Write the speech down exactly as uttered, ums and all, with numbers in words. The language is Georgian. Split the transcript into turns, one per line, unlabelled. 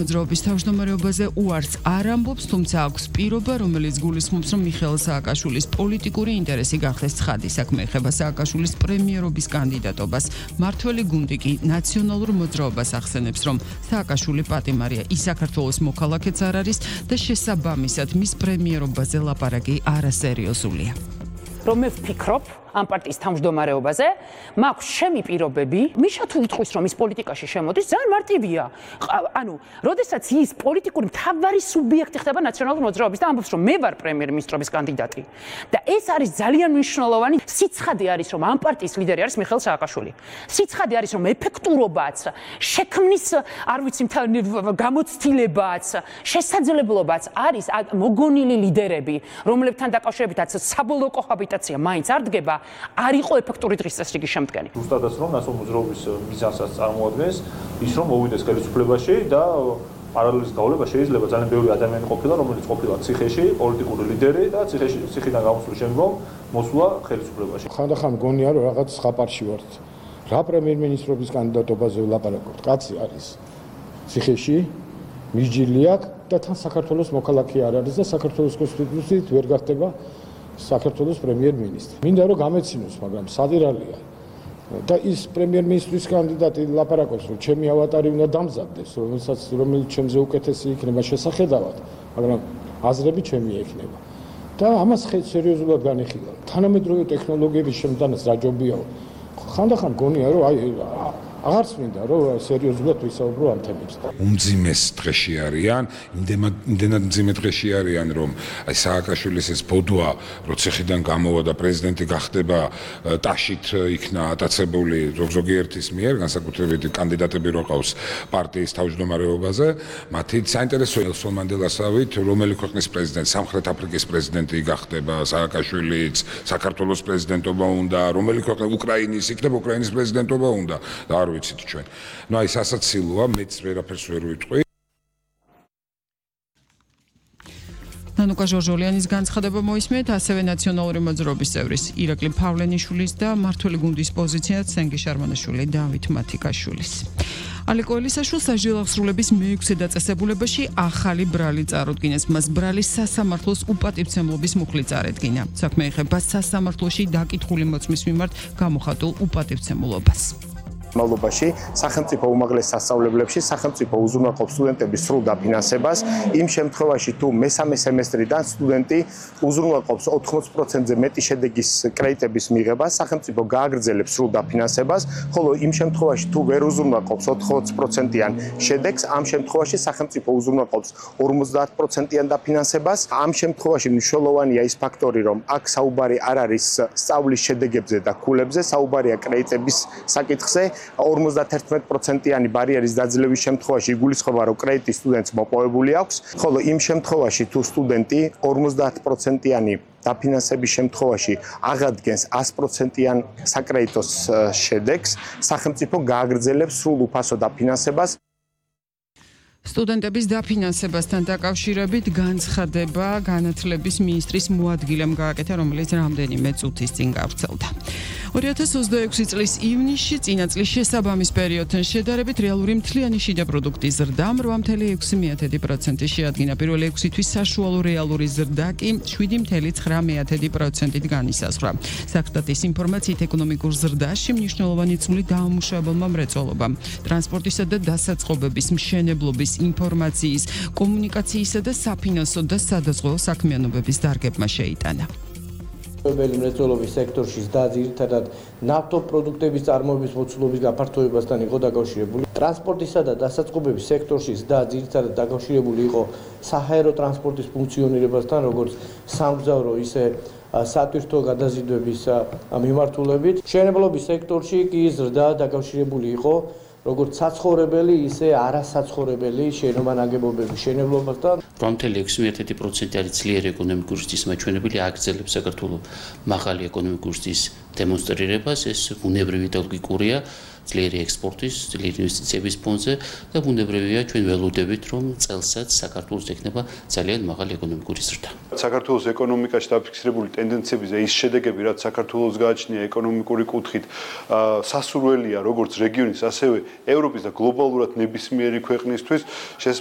მოძრაობის თავმჯდომარეობაზე უარს არ ამბობს, თუმცა აქვს პირობა, რომელიც გულისხმობს, რომ მიხეილ სააკაშვილის პოლიტიკური ინტერესი გახდეს ცხადი. საქმე ეხება სააკაშვილის პრემიერობის კანდიდატობას. მმართველი გუნდი კი ნაციონალურ მოძრაობას ახსენებს, რომ სააკაშვილი პატიმარია, ის საქართველოს მოქალაქეც არ არის და შესაბამისად მის პრემიერობაზე ლაპარაკი არასერიოზულია.
რომ მე ვფიქრობ ამ პარტიის თავმჯდომარეობაზე, მაქვს ჩემი პირობები, მიშა თუ იტყვის, რომ ის პოლიტიკაში შემოდის, ძალიან მარტივია. ანუ, როდესაც ის პოლიტიკური მთავარი სუბიექტი ხდება ნაციონალური მოძრაობის და ამბობს, რომ მე ვარ პრემიერ-მინისტრობის კანდიდატი. და ეს არის ძალიან მნიშვნელოვანი. სიცხადე არის, რომ ამ პარტიის ლიდერი არის მიხეილ სააკაშვილი. სიცხადე არის, რომ ეფექტურობაც, შექმნის, არ ვიცი, გამოცდილებაც, შესაძლებლობაც არის მოგონილი ლიდერები, რომლებთან დაკავშირებითაც საბოლოო კოჰაბიტაცია მაინც არ დგება. არ იყო ეფექტური დღის წესრიგი შემდგენი.
ზუსტადაც რომ ნაციონალური მოძრაობის მიზანსაც წარმოადგენს ის რომ მოვიდეს ხელისუფლებაში და პარალელის გავლა შეიძლება ძალიან ბევრი ადამიანი ყოფილა რომელიც ყოფილა ციხეში, პოლიტიკური ლიდერი და ციხეში ციხიდან გამოსვლის შემდგომ მოსვლა ხელისუფლებაში.
ხანდახან გონია რომ რაღაც ხაპარში ვართ. რა პრემიერ-მინისტრობის კანდიდატობაზე ვლაპარაკობთ? კაცი არის ციხეში, მისჯილი აქვს და თან საქართველოს მოქალაქე არ არის და საქართველოს კონსტიტუციით ვერ გახდება საქართველოს პრემიერ-მინისტრი. მინდა რომ გამეცინოს, მაგრამ სადირალია. და ის პრემიერ-მინისტრის კანდიდატი ლაპარაკობს, რომ ჩემი ავატარი უნდა დამზადდეს, რომელსაც რომელიც ჩემზე უკეთესი იქნება შესახედავად, მაგრამ აზრები ჩემი ექნება. და ამას სერიოზულად განიხილავ. თანამედროვე ტექნოლოგიების შემდგანაც რა ჯობიაო. ხანდახან გონია რომ აი აღარც მინდა რომ სერიოზულად ვისაუბრო ამ თემებზე.
უმძიმეს დღეში არიან, იმდენად მძიმე დღეში არიან, რომ აი სააკაშვილის ეს ბოდვა, რო ციხიდან გამოვა და პრეზიდენტი გახდება, ტაშით იქნა ატაცებული ზოგიერთის მიერ, განსაკუთრებით კანდიდატები რო ყავს პარტიის თავმჯდომარეობაზე, მათი საინტერესოა ნელსონ მანდელასავით, რომელი ქვეყნის პრეზიდენტი, სამხრეთ აფრიკის პრეზიდენტი გახდება, სააკაშვილიც, საქართველოს პრეზიდენტობა უნდა, რომელი ქვეყნის უკრაინის იქნება, უკრაინის პრეზიდენტობა უნდა. ვიცით ჩვენ. ნუ აი სასაცილოა, მეც ვერაფერს ვერ ვიტყვი.
ნანუკა ჟორჟოლიანის განცხადება მოისმენთ, ასევე ნაციონალური მოძრაობის წევრის ირაკლი ფავლენიშვილის და მმართველი გუნდის პოზიციად სენგი შარმანაშვილი და დავით მათიკაშვილის. ალეკო ელისაშვილს სასჯელ აღსრულების მეექვსე დაწესებულებაში ახალი ბრალი წარუდგინეს. მას ბრალის სასამართლოს უპატივცემლობის მუხლი წარედგინა. საქმე ეხება სასამართლოში დაკითხული მოწმის მიმართ გამოხატულ უპატივცემულობას.
მავლობაში სახელმწიფო უმაღლეს სასწავლებლებში სახელმწიფო უზრუნველყოფს სტუდენტების სრულ დაფინანსებას. იმ შემთხვევაში თუ მესამე სემესტრიდან სტუდენტი უზრუნველყოფს ოთხმოცი პროცენტზე მეტი შედეგის კრედიტების მიღებას, სახელმწიფო გააგრძელებს სრულ დაფინანსებას, ხოლო იმ შემთხვევაში თუ ვერ უზრუნველყოფს ოთხმოცი პროცენტიან შედეგს, ამ შემთხვევაში სახელმწიფო უზრუნველყოფს ორმოცდაათ პროცენტიან დაფინანსებას. ამ შემთხვევაში მნიშვნელოვანია ის ფაქტორი, რომ აქ საუბარი არ არის სწავლის შედეგებზე და ქულებზე, საუბარია კრედიტების საკითხზე. ორმოცდაათი პროცენტიანი ბარიერის დაძლევის შემთხვევაში იგულისხმება, რომ კრედიტი სტუდენტს მოპოვებული აქვს, ხოლო იმ შემთხვევაში თუ სტუდენტი ორმოცდაათ პროცენტიანი დაფინანსების შემთხვევაში აღადგენს ას პროცენტიან საკრედიტო შედეგს, სახელმწიფო გააგრძელებს სრულ უფასო დაფინანსებას.
სტუდენტების დაფინანსებასთან დაკავშირებით განცხადება განათლების მინისტრის მოადგილემ გააკეთა, რომელიც რამდენიმე წუთის წინ გავრცელდა. ორი ათას ოცდაექვსი წლის ივნისში წინა წლის შესაბამის პერიოდთან შედარებით რეალური მთლიანი შიდა პროდუქტის ზრდა რვა წუთი ექვსი პროცენტი შეადგინა. პირველი ექვსი თვის საშუალო რეალური ზრდა კი შვიდი წუთი ცხრა პროცენტით განისაზღვრა. საქსტატის ინფორმაციით ეკონომიკურ ზრდაში მნიშვნელოვანი წვლილი დაამუშავებელმა მრეწველობამ, ტრანსპორტისა და დასაწყობების, მშენებლობის, ინფორმაციის, კომუნიკაციისა და საფინანსო და სადაზღვევო საქმიანობების დარგებმა შეიტანა.
მრეწველობის მრეწველობის სექტორში ზრდა ძირითადად ნავთობპროდუქტების წარმოების მოცულობის გაფართოებასთან იყო დაკავშირებული. ტრანსპორტისა და დასაწყობების სექტორში ზრდა ძირითადად დაკავშირებული იყო საჰაერო ტრანსპორტის ფუნქციონირებასთან, როგორც სამგზავრო, ისე სატვირთო გადაზიდვების მიმართულებით. მშენებლობის სექტორში კი ზრდა დაკავშირებული იყო როგორც საცხოვრებელი, ისე არასაცხოვრებელი შენობა-ნაგებობების მშენებლობასთან.
რვა წუთი ექვსი პროცენტი არის ძლიერი ეკონომიკური ზრდის მაჩვენებელი, აგრძელებს საქართველოს მაღალი ეკონომიკური ზრდის დემონსტრირებას, ეს ბუნებრივი და ლოგიკურია ძლიერი ექსპორტის, ძლიერი ინვესტიციების ფონზე და ბუნებრივია ჩვენ ველოდებით, რომ წელსაც საქართველოს ექნება ძალიან მაღალი ეკონომიკური ზრდა.
საქართველოს ეკონომიკაში დაფიქსირებული ტენდენციები და ის შედეგები, რაც საქართველოს გააჩნია ეკონომიკური კუთხით, სასურველია როგორც რეგიონის, ასევე ევროპის და გლობალურად ნებისმიერი ქვეყნისთვის. შესაბამისად